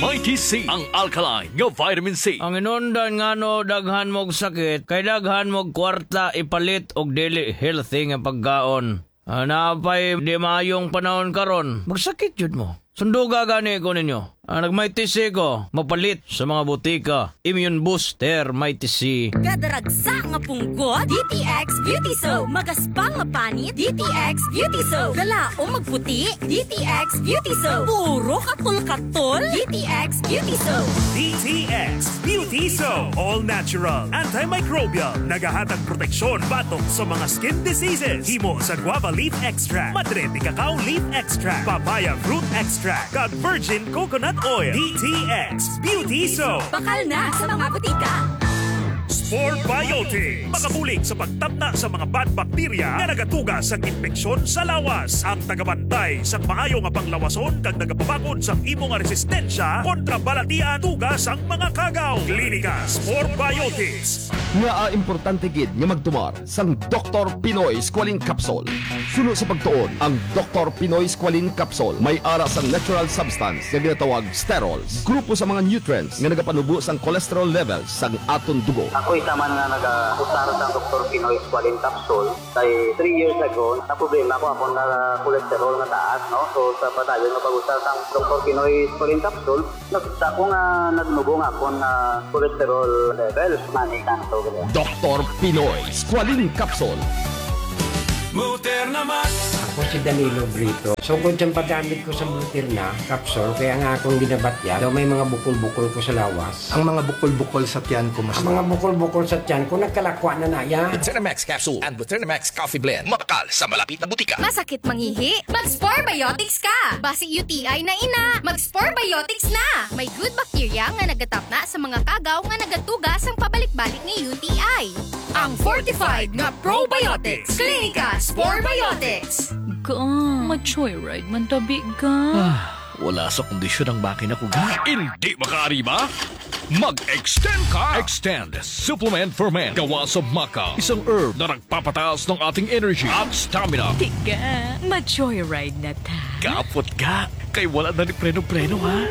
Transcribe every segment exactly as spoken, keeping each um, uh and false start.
Mighty C, ang alkaline nga vitamin C. Ang inundan ngano daghan mog sakit, kay daghan mog kwarta ipalit og dili healthy nga pagkaon. Ah, naa pa'y di maayong panahon karon. Magsakit jud mo. Sunduga gani ko ninyo. Ah, nag-Mighty C ko, mapalit sa mga butika. Immune Booster Mighty C. Kada ragsa nga punggot, D T X Beauty Soap. Magaspang nga panit, D T X Beauty Soap. Kalaom magputi, D T X Beauty Soap. Puro katol-katol, D T X Beauty Soap. D T X Beauty Soap. All natural, antimicrobial. Nagahatag proteksyon batok sa mga skin diseases. Himo sa guava leaf extract, madre de cacao leaf extract, papaya fruit extract, kag virgin coconut oil. D T X Beauty Soap. Bakal na sa mga butika. Spore Biotics. Makabulig sa pagtapna sa mga bad bacteria nga nagatuga sang impeksyon sa lawas. Ang tagabantay sang maayo nga panglawason kag nagapabakod sang imo nga resistensya kontra balatian tuga sang mga kagaw. Klinika Spore Biotics. Ngaa importante gid nga magtumar sang Doktor Pinoy Squalene Capsule? Suno sa pagtuon, ang Doktor Pinoy Squalene Capsule may ara sang natural substance nga ginatawag sterols, grupo sa mga nutrients nga nagapanubo sang cholesterol levels sang aton dugo. Ako isa man nga nagausar sang Doktor Pinoy Squalene Capsule, kay three years ago, naproblema ko akon nga cholesterol nga taas, no? So, sa padayon nga pag-usar sang Doktor Pinoy Squalene Capsule, nakita ko nga nagnubo nga akon nga cholesterol level. Mani kanto, gani. Doktor Pinoy Squalene Capsule. Motor na Max. Ako si Danilo Brito. Sugod sa paggamit ko sa Blutirna capsule, kaya nga akong ginabatyan, daw may mga bukol-bukol ko sa lawas. Ang mga bukol-bukol sa tiyan ko, mas Ang mga bukol-bukol sa tiyan ko, nagkalakwa na na yan. Blutirna Max Capsule and Blutirna Max Coffee Blend. Mabakal sa malapit na butika. Masakit mangihi? Mag-Spore Biotics ka! Basi U T I na ina, mag-Spore Biotics na! May good bacteria nga nagatapna sa mga kagaw nga nagatuga sang pabalik-balik nga U T I. Ang fortified nga probiotics. Klinika Spore Biotics. Ga, ma-joyride man tabi ga. Ah, wala sa kondisyon ang makina ko, ga. Hindi makaari ba? Mag-extend ka! Extend Supplement for Men. Gawa sa maca, isang herb na nagpapataas ng ating energy at stamina. Tiga, ma-joyride na ta. Kapot ga, kay wala na ni preno-preno, ha?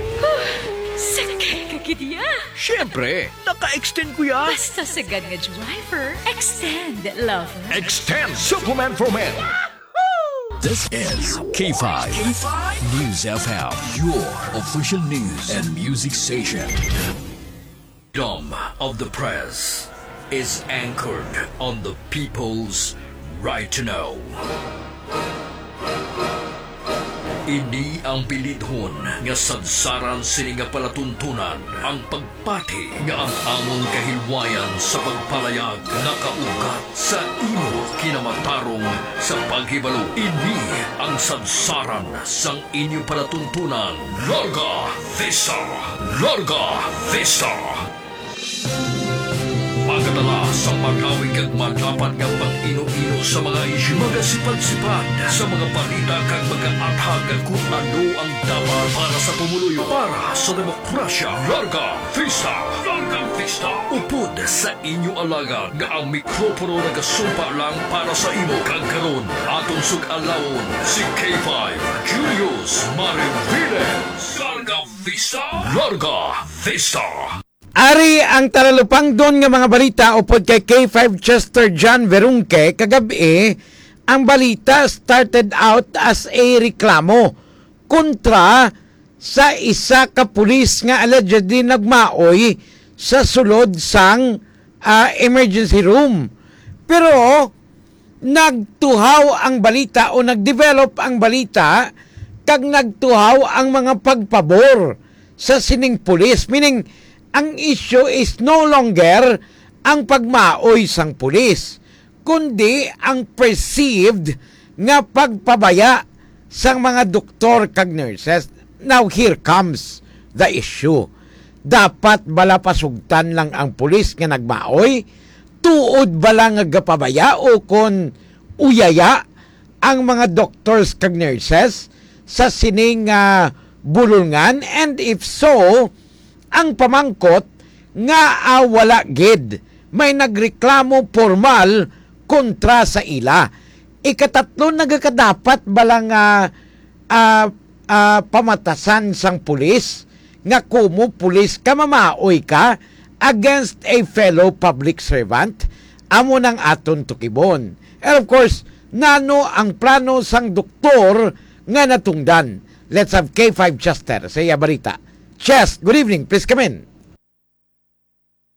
Sakay ka gid ya. Siyempre, naka-extend ko ya. Basta sagad nga driver, extend, lover. Extend Supplement for Men. This is K five News F M, your official news and music station. Freedom of the press is anchored on the people's right to know. Ini ang bilidhon nga sadsaran sini nga palatuntunan, ang pagpati nga ang amon kahilwayan sa pagpalayag nakaugat sa imo kinamatarong sa paghibalo. Ini ang sadsaran sang inyo palatuntunan. Larga Vista! Larga Vista! Pagkadala sa magawig kag madapat nga pag-ino-ino sa mga isyu, magasipad-sipad sa mga balita kag magaathag kung ano ang dapat para sa pumuluyo, para sa demokrasya. Larga Vista! Larga Vista! Upod sa inyo alagad nga ang mikropono nagasumpa lang para sa imo. Kag karon, atong sug-alawon si K five Julius Mariviles. Larga Vista! Larga Vista! Ari ang talalupangdon nga mga balita upod kay K five Chester John Verunque kagab-i. Ang balita started out as a reklamo kontra sa isa ka pulis nga allegedly nagmaoy sa sulod sang, ah, emergency room. Pero nagtuhaw ang balita o nag-develop ang balita kag nagtuhaw ang mga pagpabor sa sining pulis. Meaning, ang issue is no longer ang pagmaoy sang pulis, kundi ang perceived nga pagpabaya sang mga doktor kag nurses. Now, here comes the issue. Dapat bala pasugtan lang ang pulis nga nagmaoy? Tuod bala nga gapabaya o kon uyaya ang mga doctors kag nurses sa sining, ah, bulolngan? And if so, ang pamangkot nga, ah, wala gid may nagreklamo pormal kontra sa ila. Ikatatlo, nagakadapat bala nga, ah, ah, pamatasan sang pulis nga kumo pulis ka, mamaoy ka against a fellow public servant? Amo nang aton tukibon. And of course, nano ang plano sang doktor nga natungdan? Let's have K five Chester sa iya balita. Chest, good evening. Please come in.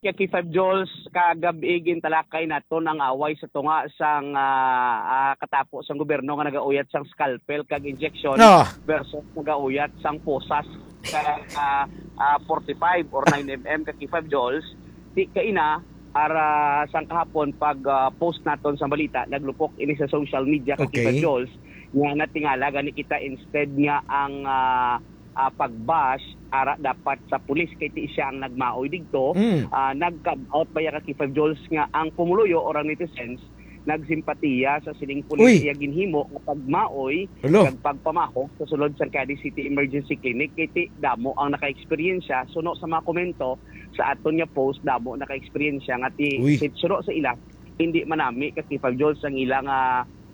Kay K five Jules, kagab-i gintalakay naton ang away sa tunga sang, ah, ah, katapo sang gobyerno nga nagauyat sang scalpel kag injection Ah. versus nagauyat sang posas kag, ah, ah, forty-five or nine M M ka K five Jules. Di kaina, ara sang kahapon pag, ah, post naton sa balita, naglupok ini sa social media ka Okay. K five Jules nga natingala gani kita instead nga ang, ah, ah, pag-bash ara dapat sa pulis kay ti siya ang nagmaoy digto. Mm. Ah, nag-come out pa ya ka K five Jules nga ang pumuluyo or ang netizens nagsimpatiya sa sining pulis Uy. iya ginhimo nga pagmaoy Hello. kag pagpamahog sa sulod sa Cadiz City Emergency Clinic kay ti damo ang naka-eksperyensya suno sa mga komento sa aton nga post, damo naka-eksperyensya nga ti Uy. si suno sa ila hindi manami ka K five Jules ang ila nga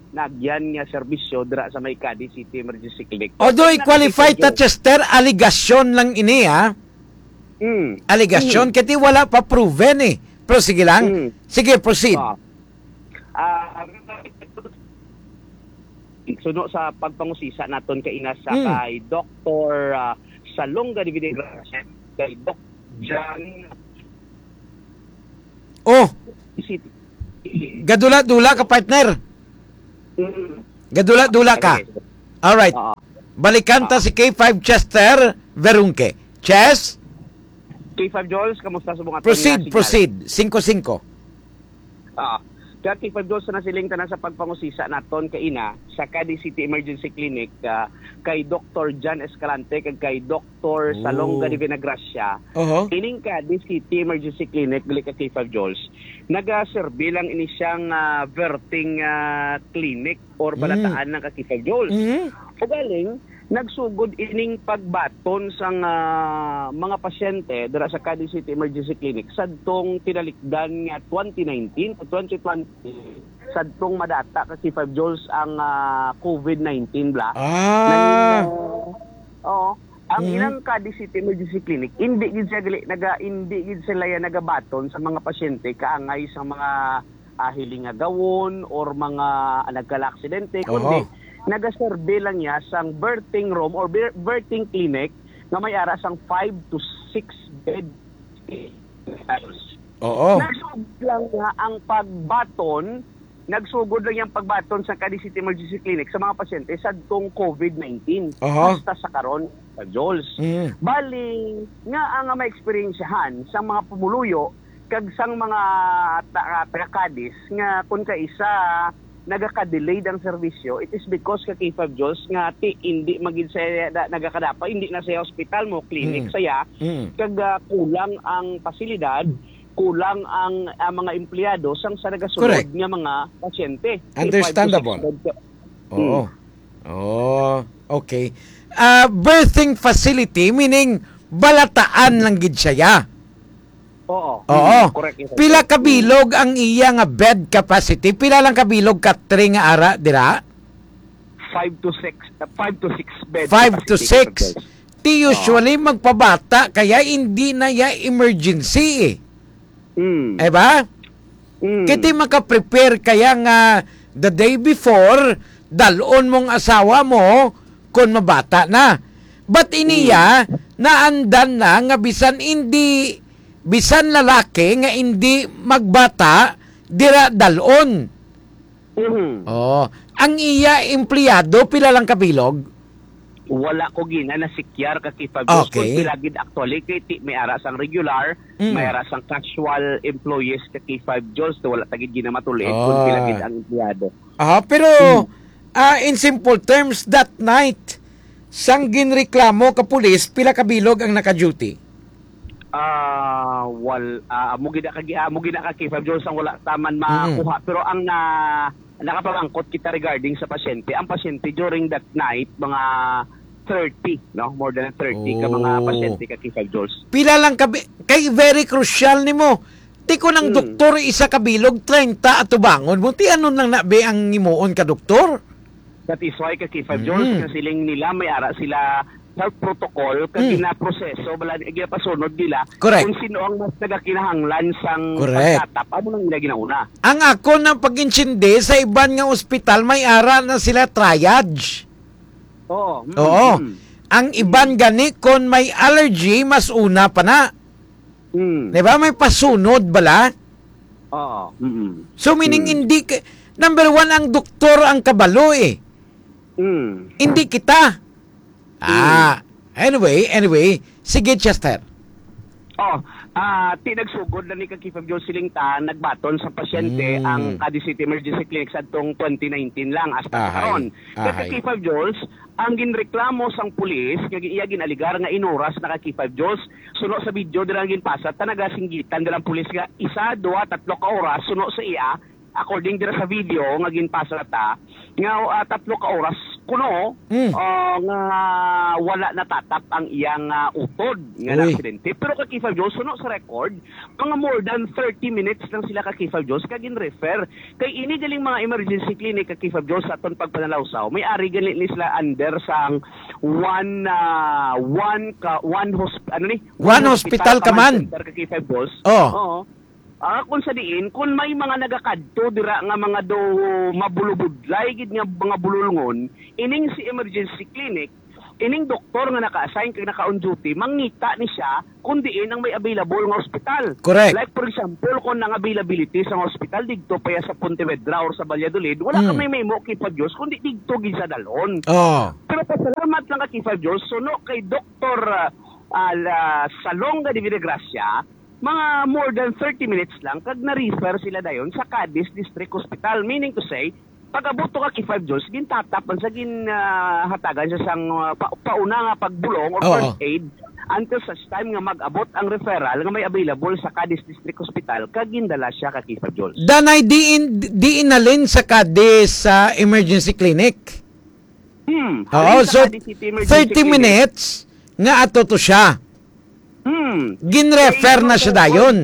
nagyan nga serbisyo dira sa may Cadiz City Emergency Clinic. Although Kaya i-qualify ta, nakikita Chester, alegasyon lang ini, ha? Mm. Alegasyon, Mm. kasi wala pa proven, eh. Pero sige lang. Mm. Sige, proceed. Ah. Ah, suno sa pagpangusisa naton kaina sa Mm. kay Doktor, ah, Salonga de Videgracia, kay Doc John Oh. City. Gadula-dula ka, partner. Mm. Gadula-dula ka. Okay. Alright. Oo. Balikan ta Oo. si K five Chester Verunque. Chess? K five Jules, kamusta sa mga Proceed, tonga signal? proceed. Singko-singko. Ah, kaya K five Jules, nasiling ta na sa pagpangusisa naton kaina sa Cadiz City Emergency Clinic, ah, kay Doktor John Escalante kag kay Doktor Salonga Oh. de Vinagracia. Oho. Ining Cadiz City Emergency Clinic, gali ka K five Jules, nagaserbi lang ini siyang, ah, birthing, ah, clinic or Mm. balataan ng ka K five Jules. Mm. Ugaling, nagsugod ining pagbaton sang, ah, mga pasyente dira sa Cadiz City Emergency Clinic sadtong tinalikdan nga twenty nineteen to twenty twenty, sadtong madata ka K five Jules ang, ah, covid nineteen bala. Ah. Nang, ah, oo. Ang Mhm. ilang Cadiz City Emergency Clinic, hindi gid siya gali, naga, hindi gid sila ya nagabaton sa mga pasyente kaangay sa mga, ah, hiling nga gawon or mga, ah, nagkala-aksidente, Oho. kundi nagaserbi lang niya sang birthing room or bir-, birthing clinic nga may ara sang five to six bed. Oo. Nagsugod lang nga ang pagbaton, nagsugod lang yang pagbaton sa Cadiz City Emergency Clinic sa mga pasyente sadtong covid nineteen Aha. hasta sa karon, ka Jules. Mm. Bali, nga ang may eksperyensyahan sa mga pumuluyo kag sang mga ta-, taga Cadiz nga kun kaisa nagaka-delayed ang serbisyo, it is because ka K five Jules nga ti, hindi magid sa na, nagakadapa, hindi na sa ospital mo, clinic Mm. saya, Mm. kag, ah, kulang ang pasilidad, kulang ang, ah, mga empleyado sang sa nagasulod Correct. nga mga pasyente. Understandable. Five to six bed ka- Oo. Hmm. Oh, okay. Ah, birthing facility, meaning balataan lang gid siya, ya? Oo. Oo. Hmm, correct, yes, sir. Pila ka Hmm. bilog ang iya nga bed capacity? Pila lang ka bilog ka three nga ara dira? Five to six, uh, five to six bed Five to capacity, six. Sir. Ti Oo. usually magpabata kaya hindi na ya emergency eh. Mm. Eh ba? Mm. Kiti maka-prepare kaya nga the day before, dalon mong asawa mo kung mabata na. But iniya, Mm. naandan na nga bisan hindi, bisan lalaki nga hindi magbata, dira dalon. Mhm. Oh, ang iya empleyado, pila lang kabilog? Wala ko gina nasikyar ka K five Jules Okay. kung pila gid actually, kay ti-, may ara sang regular, Mm. may ara sang casual employees ka K five Jules, so wala ta gid gina matuli kung pila Ah. gid ang empleyado. Ah, pero, Mm. ah, in simple terms, that night, sang ginreklamo ka pulis, pila kabilog ang naka-duty? Ah, wal-, ah, amo gid ka gi-, amo gid ka K five Jules ang wala ta man Mm. makuha. Pero ang na-, nakapamangkot kita regarding sa pasyente, ang pasyente during that night, mga thirty, no? More than thirty ka mga Oh. pasyente ka K five Jules. Pila lang ka bi-, kay very crucial nimo. Ti kun ang Hmm. doktor isa ka bilog, treinta atubangon mo. Ti ano nang nabi ang himuon ka doktor? That is why ka K five Jules, Mm. nga siling nila, may ara sila health protocol kag Hmm. ginaproseso, bala, ginapasunod nila Correct. kung sino ang mas nagakinahanglan sang Correct. pagtatap, amo nang ila ginauna. Ang ako nang pag-intindi sa iban nga ospital, may ara na sila triage. Oo. Mm, Oo. mm. Ang iban gani, kon may allergy, mas una pa na. Mm. Di ba? May pasunod bala. Oo. Mm-mm. So, meaning, Mm. hindi ka, number one, ang doktor ang kabalo eh. Mm. Hindi kita. Ah, Mm. anyway, anyway. Sige, Chester. Oh, ah, ti nagsugod na ni Kakifab Jones siling ta, nagbaton sa pasyente Mm. ang Cadiz City Emergency Clinic sa atong twenty nineteen lang hasta Ahay. karon. Kay Ahay. Kakifab Jones, ang ginreklamo sang pulis, nga iya ginaligar nga inuras na Kakifab Jones, suno sa video dira nga ginpasa, ta nagasinggitan dira ang pulis nga isa, duha, tatlo ka oras, suno sa iya, according dira sa video nga ginpasa ta, nga, ah, tatlo ka oras kuno, Mm. ah, nga wala natatap ang iyang, ah, utod nga Uy. naaksidente. Pero Kakifab Jones, suno sa record, mga more than thirty minutes lang sila Kakifab Jones kag gin-refer. Kay ini galing mga emergency clinic Kakifab Jones sa aton pagpanalawsaw, may ari gani ni sila under sang one, ah, one ka, one hosp-, ano ni? One One hospital hospital command command. center Kakifab Jones. Oh. Oo. Ah, kung sa diin, kung may mga nagakadto dira nga mga daw mabulubudlay gid nga mga bululngon, ining si emergency clinic, ining doktor nga naka-assign kag naka-on duty, mangita ni siya kung diin ang may available nga ospital. Correct. Like, for example, kung ang availability sa ospital didto pa ya sa Pontevedra or sa Valladolid, wala ka Mm. may mahimo, Kakifab Jones, kundi didto gid sa dalhon. Oh. Pero pasalamat lang ka, Kakifab Jones, suno kay Doktor, ah, ah, la-, Salonga de Villagracia, mga more than thirty minutes lang, kag na-refer sila dayon sa Cadiz District Hospital. Meaning to say, pag-abot to ka Kakifab Jones, gintatap man sa gin, ah, hatagan siya sang, ah, pa-, pauna nga pagbulong or Oo. first aid until such time nga mag-abot ang referral nga may available sa Cadiz District Hospital, kag gindala siya ka Kakifab Jones. Danay, diin, diin nalin sa Cadiz sa emergency clinic? Hmm. Oo, Halin sa so, Cadiz City Emergency thirty Clinic. minutes nga ato to siya. Hmm. Ginrefer Kay na siya ano, dayon.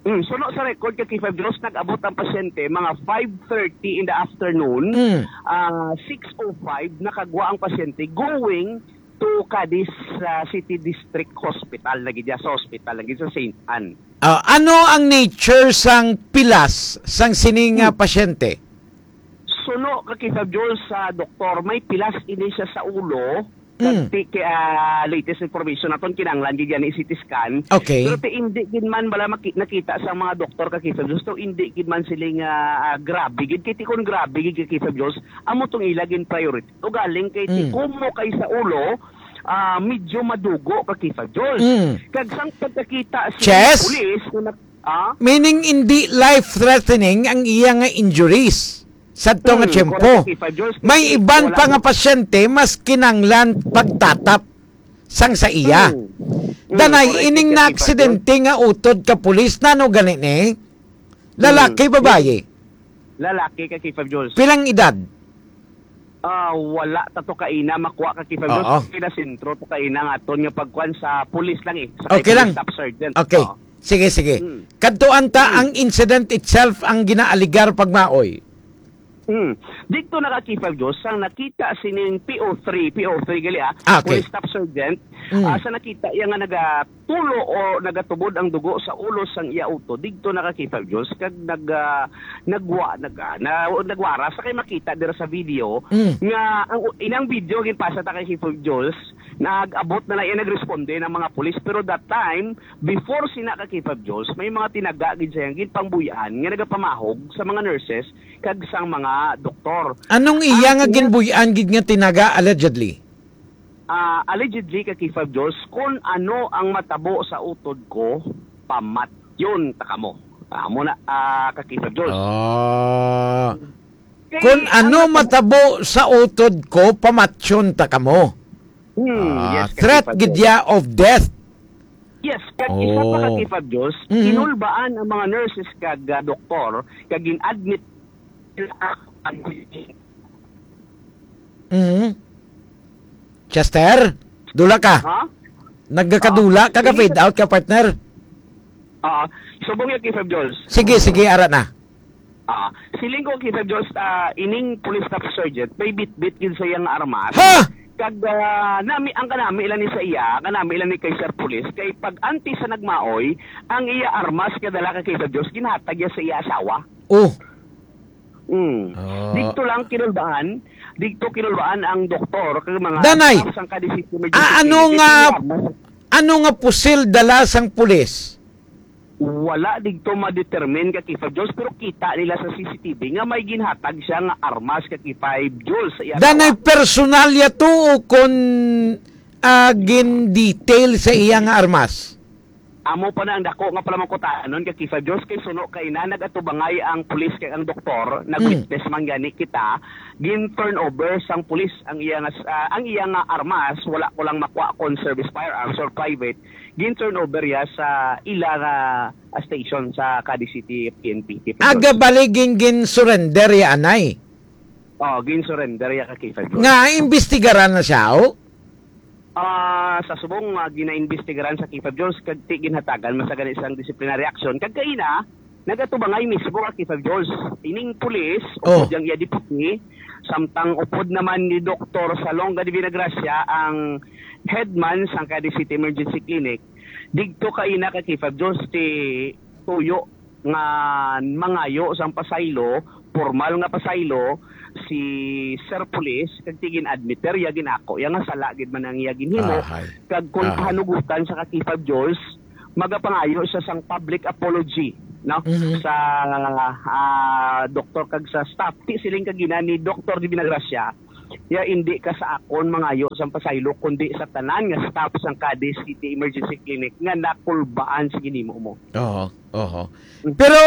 Hmm, suno sa record, Kakifab Jones, nag-abot ang pasyente mga five thirty in the afternoon. Hmm. Ah, six oh five, nakagwa ang pasyente going to Cadiz, ah, City District Hospital, lagi dya sa hospital, lagi sa Saint Anne. Ah, ano ang nature sang pilas sang sining, ah, Hmm. pasyente? Suno, Kakifab Jones, sa doktor, may pilas ini siya sa ulo. Mm. Kag ti-, kay, ah, latest information naton, kinahanglan gid yan i-C T scan. Okay. Pero ti hindi gid man bala maki-, nakita sa mga doktor, Kakifab Jones, to hindi gid man sila nga, ah, grabe gid. Kay ti kon grabe gid, Kakifab Jones, amo tong ila gin priority. Ugaling kay ti Mm. kumo kay sa ulo, ah, medyo madugo, Kakifab Jones. Mm. Kag sang pagkakita sa Chest? pulis nga nag-, ah? Meaning, hindi life-threatening ang iya nga injuries sadto nga Mm, tiyempo. correct, Kakifab Jones. May Kasi iban wala pa nga mo pasyente mas kinanglan pagtatap sang sa iya. Mm. Mm, Danay, correct, ining Kakifab naaksidente Jones. nga utod ka pulis, nano gani ni? Lalaki, Mm. babayi? Lalaki, Kakifab Jones. Pilang edad? Ah, wala ta to kaina makuha, Kakifab Jones. Oo. Kina sentro to kaina nga aton nga pagkuan sa pulis lang eh. Sa Okay kay lang. Staff sergeant. Okay. Oo. Sige, sige. Mm. Kadtuan ta Mm. ang incident itself ang ginaaligar pagmaoy. Mm. Dito na, Kakifab Jones, sang nakita sining P O three, P O three gali, ah, Ah, okay. Police Staff Sergeant, Mm. ah, sa nakita iya nga nagatulo o nagatubod ang dugo sa ulo sang iya utod, dito na, Kakifab Jones, kag nag, ah, nagwa-, nag, ah, na, nagwara sa kay makita dira sa video Mm. nga ang u-, inang video ginpasa ta, Kakifab Jones, nag-abot na lang iya nagresponde ng mga pulis, pero that time, before sina, Kakifab Jones, may mga tinaga gid siya ginpangbuy-an nga nagapamahog sa mga nurses kag sang mga doktor. Anong iya Ang nga iya ginbuy-an gid nga tinaga, allegedly? Ah, allegedly, Kakifab Jones, kung ano ang matabo sa utod ko, pamatyon ta kamo. Amo na, ah, Kakifab Jones. Ah. Kay Kung ang ano matabo matabo sa utod ko, pamatyon ta kamo. Hmm, Ah, yes, threat Kakifab gid Jones. ya of death. Yes, kag isa pa, Oh. Kakifab Jones, Mhm. kinulbaan ang mga nurses kag, ah, doktor, kag gin-admit sila ang Mhm. Chester, dula ka? Ha? Nagkakadula Ah, ka, ka sige. fade out ka, partner? Ah, subong ya, Kakifab Jones. Sige, sige, ara na. Ah, siling ko, Kakifab Jones, ah, ining police staff sergeant, may bitbit gid sa iyang armas. Ha? Kag, ah, nami, ang kanami lang ni sa iya, ang kanami lang ni kay Sir Police, kay pag antes sa nagmaoy, ang iya armas nga dala ka K five Jones, ginhatag niya sa iya asawa. Oh. Mm. Ah. Dito lang kinulbaan, dito kinulbaan ang doktor, kag mga Danay, staff sang Cadiz City Emergency ah, ano Clinic, nga, ito nga mas ano nga pusil dala sang pulis? Wala dito ma-determine ka K five Jones, pero kita nila sa C C T V nga may ginhatag siya nga armas ka K five Jones sa iya Danay asawa. Personalya to o kon, ah, gin-detail sa iya nga armas? Amo pa na ang dako nga palamangkutanon ka K five Jones, kay suno kay na nagatubangay ang pulis kay ang doktor, Mm. nag-witness man gani kita, gin-turn over sang pulis ang iya nga s-, ah, ang iya nga armas, wala ko lang makuha kon service firearms or private, gin-turn over ya sa ila nga, ah, station sa Cadiz City P N P, K five Jones. Aga bali gin, gin-surrender ya anay? Oh, gin-surrender ya ka K five Jones. Nga imbestigaran na siya, oh? Ah, sa subong nga ginaimbestigaran sa K five Jones, kag ti ginhatagan man sa gani sang disciplinary action, kag kaina, nagatubangay mismo ka K five Jones. Ining pulis, Oh. upod yang iya deputy, samtang upod naman ni Doktor Salonga de Villagracia ang headman sang Cadiz City Emergency Clinic. Digto kaina ka K five Jones ti tuyo nga mangayo sang pasaylo, formal nga pasaylo, si Sir Police, kag ti gin-admit ya, gin-ako ya nga sala gid man ang iya ginhimo, Ahay. kag kung Ahay. pahanugutan sa ka K five Jones, magapangayo siya sang public apology, no? Mhm. Sa, ah, doktor kag sa staff. Ti siling kagina ni Doktor de Villagracia, ya, indi ka sa akon mangayo sang pasaylo, kundi sa tanan nga staff sang Cadiz City Emergency Clinic nga nakulbaan sa ginhimo mo. Oo, oo. Mm. Pero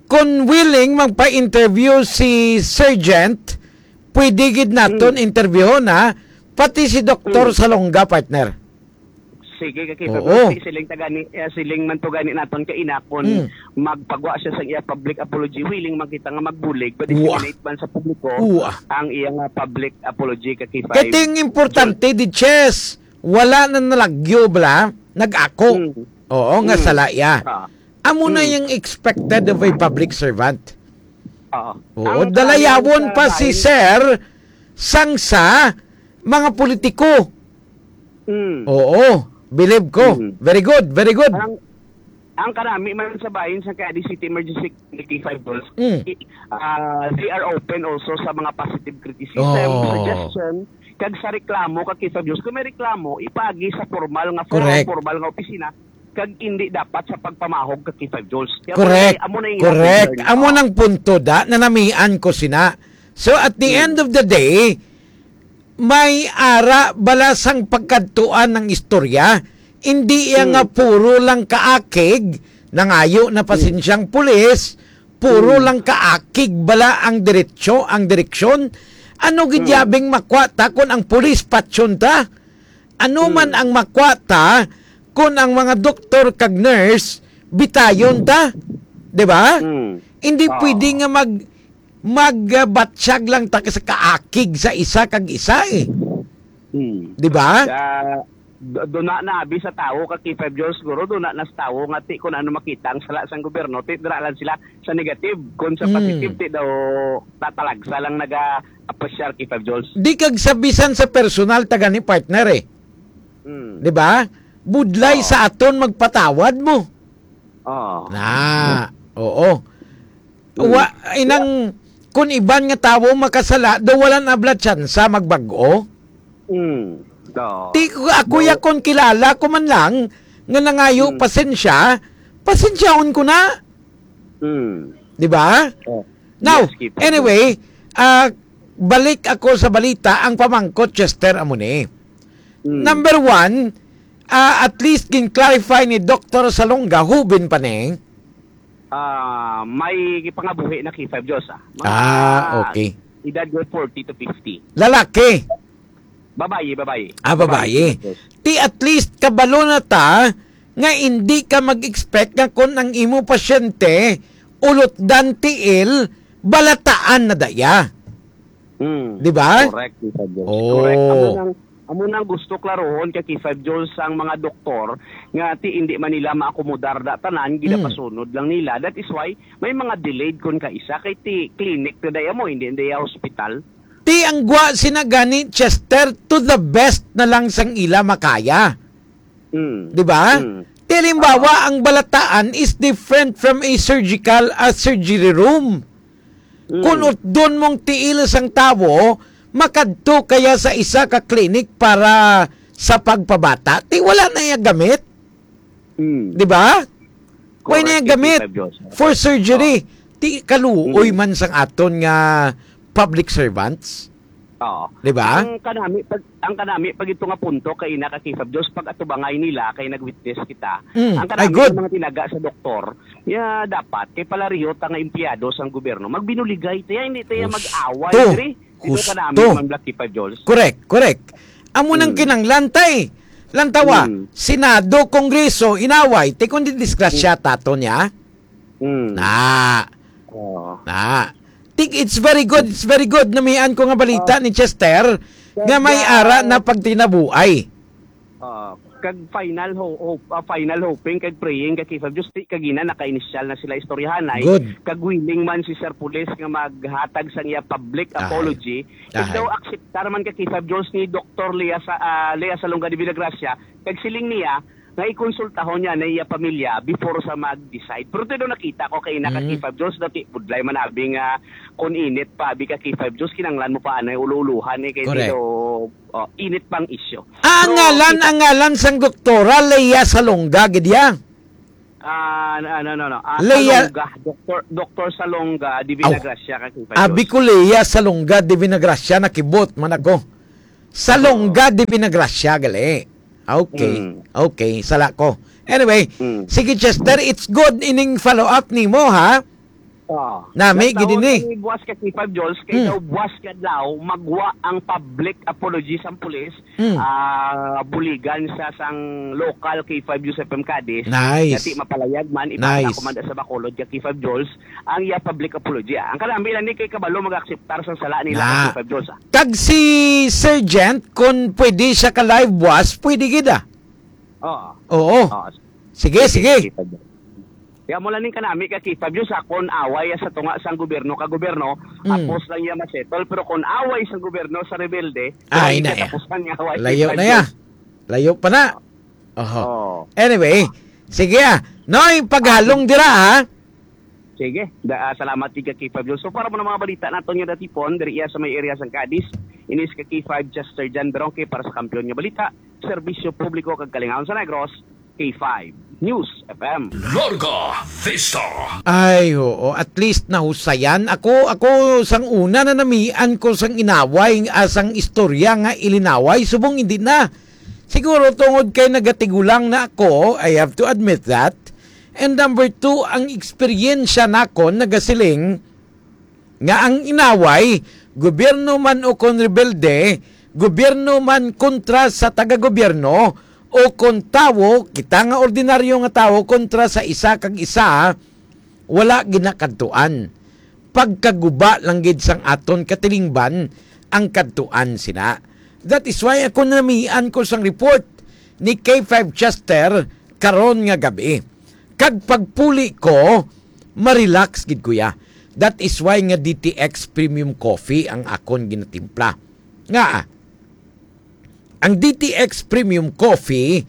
kung willing magpa-interview si Sergeant, pwede gid naton Mm. interviewon, ha? Pati si Doktor Mm. Salonga, partner. Sige, ka K five Oo. Jones, siling ta gani, eh, siling man to gani naton kaina kon Mm. magpagwa siya sa iya public apology, willing man kita nga magbulig, Wa. pa-disseminate man sa publiko Wa. ang iya nga public apology, ka K five Jones. Kay ting importante, di chess, wala na nalagyo bala, nag-ako. Mm. Oo, nga Mm. sala iya. Ah. Amo na Mm. yung expected of a public servant. Oo. Oo, Ang dalayawon karamihan pa sa si bahin- Sir sang sa mga politiko. Mm. Oo, believe ko. Mm. Very good, very good. Ang, ang karami man sa bahin sa Cadiz City Emergency Committee Five Dolls, Mm. i-, ah, they are open also sa mga positive criticism, Oo. suggestion, kag sa reklamo ka K five Dolls. Kung may reklamo, ipaagi sa formal nga forum, Correct. formal nga opisina, kag indi dapat sa pagpamahog ka K five Dolls. Kaya Correct. amo na yung Correct. Amo Oo. nang punto da, nanamian ko sina. So, at the Mm. end of the day, may ara bala sang pagkadtuan ng istorya. Hindi iya nga Mm. puro lang kaakig, nangayo na Mm. pasensyang pulis, puro Mm. lang kaakig bala ang diretsyo, ang direksyon. Ano gid Mm. yabing makwa ta kung ang pulis patyon ta? Ano man Mm. ang makwa ta kung ang mga doktor kag nurse bitayon ta? Di ba? Mm. Hindi Oo. pwede nga mag- magbatyag lang ta sa kaakig sa isa kag isa, eh. Hmm. Di ba? Sa, do-, duna na abi sa tawo ka K five Jones, siguro, duna na sa tawo nga ti kung ano makita ang sala sang gobyerno, ti dira lang sila sa negative. Kung sa Hmm. positive, ti daw tatalagsa lang naga-apresyar K five Jones. Di kag sa bisan sa personal ta gani, partner, eh. Hmm. Di ba? Budlay Oo. sa aton magpatawad mo. Oo. Na, oo. Mm. Wa, inang, kung iban nga tawo makasala, daw wala na bala tsansa magbag-o. Mm. Oo. Ti, ako No. ya kon kilala ko man lang nga nangayo Mm. pasensya, pasensyahon ko na. Mm. Di ba? Oh. Now, Yes, Kipag. anyway, ah, balik ako sa balita, ang pamangkot, Chester, amo ni. Mm. Number one, ah, at least gin-clarify ni Doktor Salonga, hubin pa ni. Ah, may pangabuhi na K five Jones, ah. Mga Ah, okay. edad nga forty to fifty. Lalaki? Babayi, babayi. Ah, babayi. Babayi, K five Jones. Ti at least kabalo na ta nga hindi ka mag-expect nga kung ang imo pasyente ulot dan tiil, balataan na daya. Mm. Di ba? Correct, K five Jones. Oh. Correct. Amo nang, amo nang gusto klarohon kay K five Jones ang mga doktor nga ti hindi man nila maakomodar da tanan, Mm. ginapasunod lang nila. That is why may mga delayed kon kaisa kay ti clinic na daya mo, hindi na daya hospital. Ti ang gwa sina gani, Chester, to the best na lang sang ila makaya. Mm. Di ba? Mm. Ti halimbawa, ang balataan is different from a surgical, a surgery room. Mm. Kung utdon mong tiil sang tawo, makadto kaya sa isa ka clinic para sa pagpabata, ti wala na iya gamit. Mm. Di ba? Wala na iya gamit for surgery. Oh. Ti kaluoy man sang aton nga public servants. Oo. Di ba? Ang kanami, pag, ang kanami, pag ito nga punto, kay ina ka K five Jules, pag atubangay nila, kay nag-witness kita. Mm. Ang kanami, ang mga tinaga sa doktor, ya dapat, kay palareho ta nga empleyado sang gobyerno, magbinuligay tayo, hindi tayo mag-away, diri. Ito kanami, Ma'am Black K five Jules. Correct, correct. Amo nang kinanglan, tay. Lantawa, Senado, Kongreso, inaway, ti kundi disgrasya tato niya. Mm. Na. Oo. Na. Think it's very good, it's very good. Namian ko nga balita ni Chester nga may ara na pagtinabuay. Oo. Kag final ho-, hope, ah, final hoping kag praying kag K five Jules, ti kagina naka-initial na sila istoryahanay. Good. Kag willing man si Sir Pulis nga maghatag sang iya public apology. Kag daw akseptar man kag K five Jules ni Doktor Lea sa, ah, Lea Salonga de Villagracia, kag siling niya nga ikonsultahon niya na iya pamilya before sa mag-decide. Pero ti daw nakita ko kay ina ka K five Jules, dati budlay man abi nga kung init pa abi ka K five Jules, kinanglan mo pa anay ulo-uluhan eh, kay Correct. Daw, oh, init pang isyu. Ah, ang ngalan, ang ngalan sang doktora, Lea Salonga, gid ya? Ah, no, no, no, no. Ah, Lea Salonga, Doktor, Doktor Salonga de Aw. Villagracia ka K five Abi Jules. Ko Lea Salonga de Villagracia, nakibot man ako. Salonga de Villagracia, gali. Okay. Mm. Okay, sala ko. Anyway, Mm. sige, Chester, it's good ining follow-up nimo, ha? Ah. Nami, Nagtaon gid ini. Kami buwas ka K five Jules, kay Mm. daw buwas ka adlaw, magwa ang public apology sang pulis, Mm. ah, buligan sa sang local K five Jules F M Cadiz. Nice. Dati mapalayag man, ipakita Nice. ko man sa Bacolod ka K five Jules, ang iya public apology, ah. Ang kanami lang ni kay kabalo mag-akseptar sa sala nila Na. Ka K five Jules, ah. Kag si Sergeant, kung pwede siya ka live buwas, pwede gid, ah. Oo. Oo. Oo. Sige, sige. Sige, sige. Kaya mo lang ning kanami ka K five Jules, ah, kung away sa tunga sang gobyerno ka gobyerno, Mm. apos lang iya masettle, pero kung away sa gobyerno sa rebelde, Ay, wala na, eh. Katapusan nga away Layo K five na, ya. Jules. Layo pa na. Oho. Oo. Anyway, sige, ah. Noy, paghalong dira, ha? Sige. Da, ah, salamat, Tiga K five Jules. So, para mo na mga balita naton nga datipon, diri iya sa may area sang Cadiz, inis ka K five Chester John Beronque para sa Kampiyon nga Balita, Serbisyo Publiko kag Kalingawan sa Negros, K five News F M. Larga Vista. Ay, oo. At least nahusayan. Ako, ako sang una na namian ko sang inaway, ah, sang istorya nga ilinaway. Subong hindi na. Siguro tungod kay nagatigulang na ako, I have to admit that. And number two, ang eksperyensya nakon nagasiling nga ang inaway, gobyerno man o kon rebelde, gobyerno man kontra sa taga-gobyerno, o kon tawo, kita nga ordinaryo nga tawo kontra sa isa kag isa, wala ginakadtuan. Pagkaguba lang gid sang aton katilingban ang kadtuan sina. That is why ako namian ko sang report ni K five Chester karon nga gabi. Kag pagpuli ko, ma-relax gid ko ya. That is why nga D T X Premium Coffee ang akon ginatimpla. Nga, ang D T X Premium Coffee,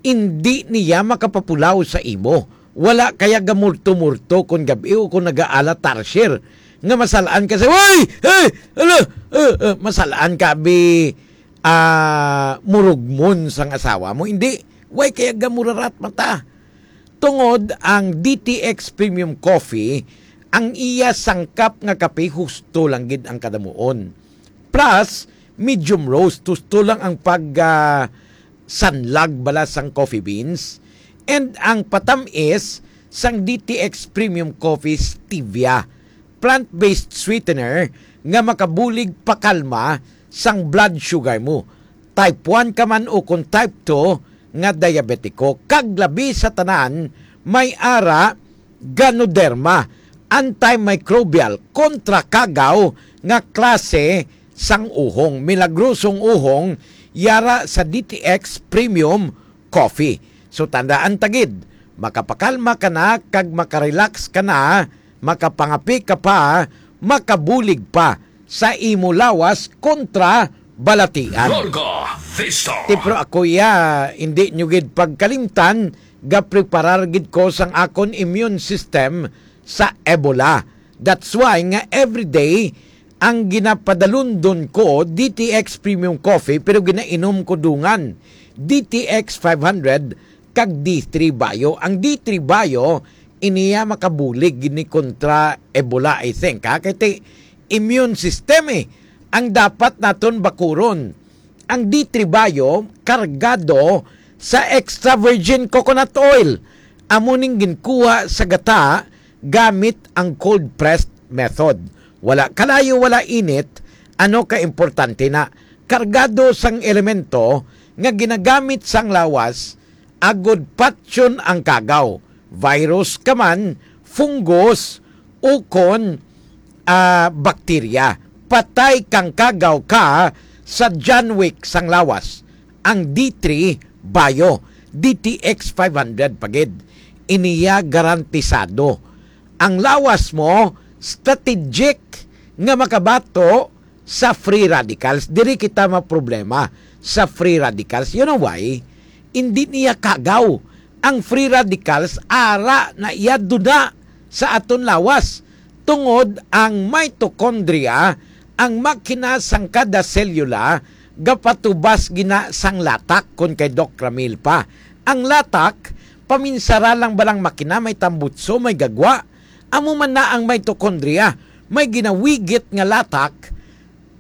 indi niya makapapulaw sa imo. Wala kaya gamurto-murto kon gab-i o kon nagaala tarsier nga masalaan ka sa, "Uy! Hey! Ala! Uh, uh," masalaan ka, bi, ah, murugmon sang asawa mo. Hindi. Way kaya gamurarat mata. Tungod ang D T X Premium Coffee, ang iya sangkap nga kape husto lang gid ang kadamuon. Plus, medium roast, husto lang ang pag, ah, sanlag bala sang coffee beans. And ang patamis sang D T X Premium Coffee Stevia, plant-based sweetener nga makabulig pakalma sang blood sugar mo. Type one ka man o kon type two nga diabetiko, kag labi sa tanan, may ara Ganoderma, antimicrobial, kontra kagaw nga klase sang uhong. Milagrosong uhong, yara sa D T X Premium Coffee. So, tandaan ta gid, makapakalma ka na kag makarelax ka na, makapangapi ka pa, makabulig pa sa imo lawas kontra balatian. Larga Vista. Ti, pero ako, ya, hindi nyo gid pagkalimtan, gapreparar gid ko sang akon immune system sa Ebola. That's why nga everyday ang ginapadalundon ko, D T X Premium Coffee, pero ginainom ko dungan, D T X five hundred kag D three Bio. Ang D three Bio, iniya makabulig ni kontra Ebola, I think, ha? Kay ti immune system, eh, ang dapat naton bakuron. Ang D three Bio kargado sa extra virgin coconut oil. Amo ning ginkuha sa gata gamit ang cold pressed method. Wala kalayo, wala init, ano ka importante na kargado sang elemento nga ginagamit sang lawas agod patyon ang kagaw, virus ka man, fungus, ukon, ah, bakterya. Patay kang kagaw ka sa John Wick sang lawas. Ang D three Bio, D T X five hundred pa gid. Iniya garantisado. Ang lawas mo, strategic nga makabato sa free radicals. Diri kita maproblema sa free radicals. You know why? Hindi niya kagaw. Ang free radicals, ara na iya duna sa aton lawas. Tungod ang mitochondria, ang makina sang kada selula, gapatubas gina sang latak, kon kay Doc Ramil pa. Ang latak, paminsara lang balang makina, may tambutso, may gagwa. Amo man na ang mitochondria, may ginawigit nga latak,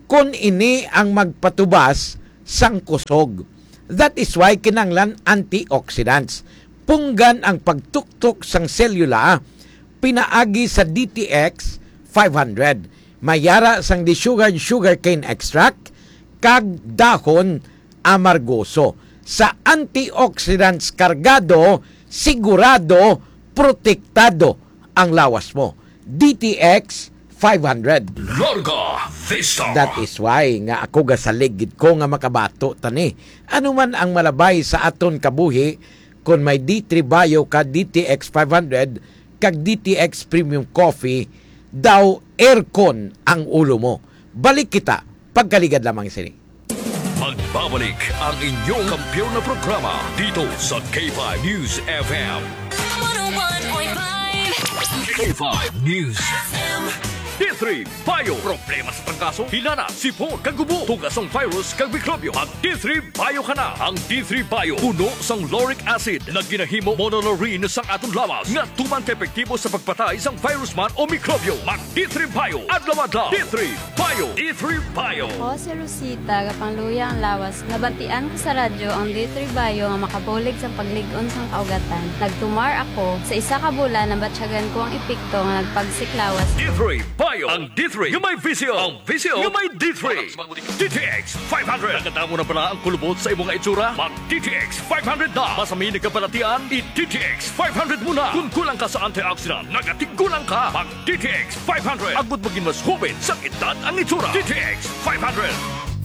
kon ini ang magpatubas sang kusog. That is why kinahanglan antioxidants. Punggan ang pagtuktok sang selula pinaagi sa D T X five hundred. Mayara sang desugared sugarcane extract kag dahon amargoso. Sa antioxidants kargado, sigurado, protektado ang lawas mo. D T X five hundred. Larga Vista. That is why nga ako gasalig gid ko nga makabato ta ni. Ano man ang malabay sa aton kabuhi, kon may D three Bio ka, D T X five hundred, kag D T X Premium Coffee, daw aircon ang ulo mo. Balik kita, pagkaligad lamang sini. Magbabalik ang inyong kampiyon na programa dito sa K five News F M. One oh one point five. K five News F M. D three Bio. Problema sa trangkaso, hilana, sipon, kag ubo, tugas sang virus kag mikrobyo. Mag D three Bio ka na. Ang D three Bio puno sang lauric acid nga ginahimo monolaurin sang aton lawas nga tuman ka epektibo sa pagpatay sang virus man o mikrobyo. Mag D three Bio adlaw-adlaw. D three Bio. D three Bio. Ako si Rosita, gapangluya ang lawas. Nabatian ko sa radyo ang D three Bio nga makabulig sa paglig-on sang kaugatan. Nagtumar ako. Sa isa ka bulan, nabatyagan ko ang epekto nga nagpagsik lawas. D three Bio. Ang D three nga may visyo. Ang visyo nga may D three. D T X five hundred. Nakadamo na bala ang kulubot sa imo nga itsura? Mag D T X five hundred na. Masami nagkabalatian, i D T X five hundred mo na. Kung kulang ka sa antioxidant, nagatigulang ka. Mag D T X five hundred. Agud magin mas hubin sa edad ang itsura. D T X five hundred.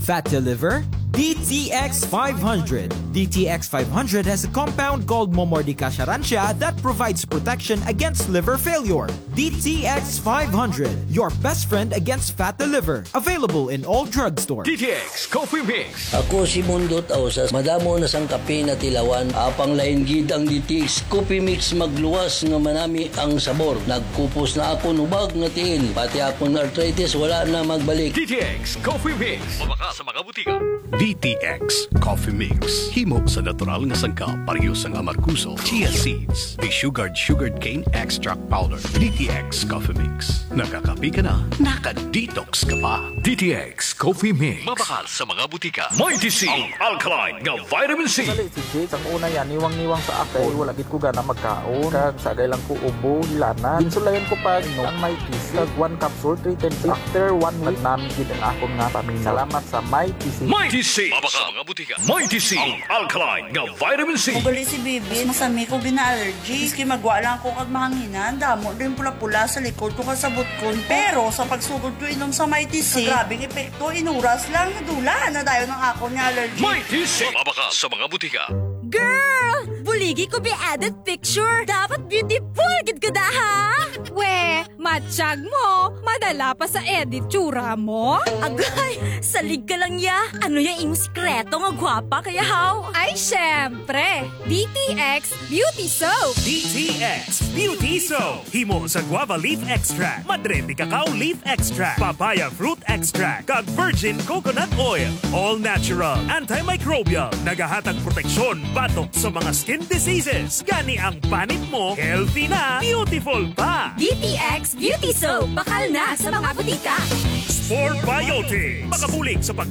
Fat to liver? D T X five hundred. D T X five hundred has a compound called Momordica charantia that provides protection against liver failure. D T X five hundred, your best friend against fat to liver. Available in all drugstores. D T X Coffee Mix. Ako si Mundo Tausas. Madamo na sang kape na tilawan. Apang lain gid ang D T X Coffee Mix, magluwas nga manami ang sabor. Nagkupos na akon hubag nga tiil. Pati akon arthritis wala na magbalik. D T X Coffee Mix. Mabakal sa mga butika. D T X Coffee Mix. Himo sa natural nga sangkap, pareho sang amargoso, chia seeds, desugared sugared cane extract powder. D T X Coffee Mix. Nakakape ka na, naka-detox ka pa. D T X Coffee Mix. Mabakal sa mga butika. Mighty C, ang alkaline nga vitamin C. Dali si Jake, ang una yan, niwang-niwang sa ako. Wala gid ko gana magkaon. Kag sagay lang ko ubo, hilanan. Ginsulayan ko pa, inom ang Mighty C. Kag one capsule, three times. After one week, nagnami gid ang akon nga pamina. Salamat sa Mighty C. Mighty C. Mabakal sa mga butika. Mighty C, ang alkaline nga vitamin C. Ugali si Bibi, masami ko gina-allergy. Maski magwa lang ko kag mahanginan, damo din pula-pula sa likod ko kag sa butkon. Pero sa pagsugod ko inom sa Mighty C, grabing epekto, inuras lang, nadula na dayon ang akon nga allergy. Mighty C. Mabakal sa mga butika. Girl! Buligi ko bi edit picture. Dapat beautiful gid ko da, ha? We, At tiyag mo, madala pa sa edit tsura mo? Agay, salig ka lang ya. Ano ya imo sikreto nga gwapa kaya haw? Ay, syempre! D T X Beauty Soap! D T X Beauty Soap. Himo sa guava leaf extract, madre de cacao leaf extract, papaya fruit extract, kag virgin coconut oil. All natural, antimicrobial, nagahatag proteksyon batok sa mga skin diseases. Gani ang panit mo, healthy na, beautiful pa. D T X Beauty Soap, bakal na sa mga butika. Spore Biotics. Makabulig sa pag